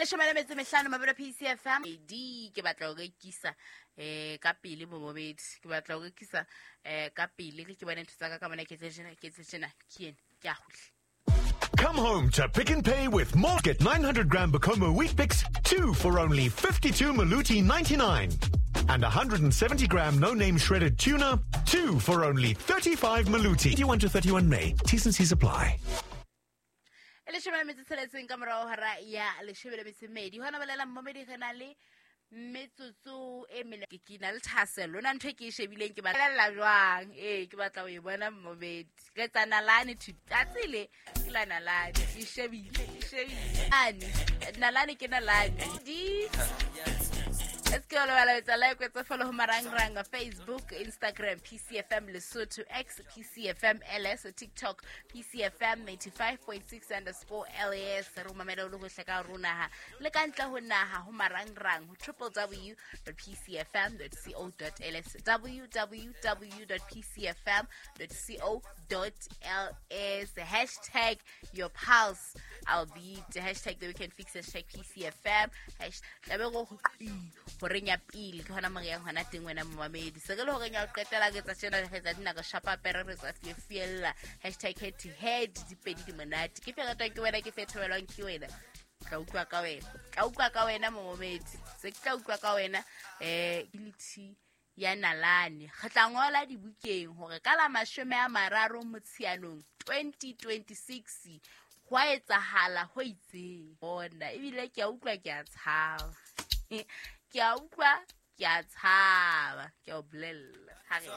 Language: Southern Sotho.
Leshome le metso e mehlano, mabelo PCFM D. Ke batla ho rekisa ka pele, momobedi. Ke batla ho rekisa ka pele, ke bone ntho tsa ka mona. Ke tse tjena, ke tse tjena, ke ene ke a kgutle. Come home to Pick n Pay with more. Get 900 gram Bokomo Wheat Picks, 2 for only 52 Maluti 99. And 170 gram no name shredded tuna, 2 for only 35 Maluti. 21 to 31 May. T's and C's apply. E leshome le metso tsheletseng ka morao hora ya leshome le metso e mmedi. Hona bolela, mmomedi, re na le metsotso e mene. Ke na le thahasello na ntho e ke e shebileng, ke batlela jwang? Ee, ke batla ho e bona, mmomedi. Re tsa nalane tsatsi le ke la nalane, ke shebile, ke shebile ane nalane, ke nalane di. Se ke lebala etsa like, etsa follow ho marangrang: Facebook, Instagram, PCFM Lesotho, X, PCFM LS, TikTok, PCFM 95.6_LAS. Re o mamela o le hohle ka hare ho naha le ka ntle ho naha ho marangrang ho www.pcfm.co.ls, www.pcfm.co.ls. #YourPulse, I'll be #TheWeekendFix, #PCFM, tlabe go horeng ya pele ke hona mo re yang hona teng. Wena momamedi, se re le horeng ya ho qetela ke tsa tjena, re tsa dinako shapa pere, re tsa fiella #HeadToHead. Dipedi di monate, ke fe ratwang ke wena, ke fe thabelwang ke wena? Tla utlwa ka wena, tla utlwa ka wena, momamedi, se ke tla utlwa ka wena. Ability ya nalane, re tla ngola dibukeng hore ka la 30 Motsheanong 2026 ho a etsahala ho itseng bona. Ebile ke a utlwa, ke a tshaba, ke a utlwa, ke a tshaba, ke a o bolella ha re.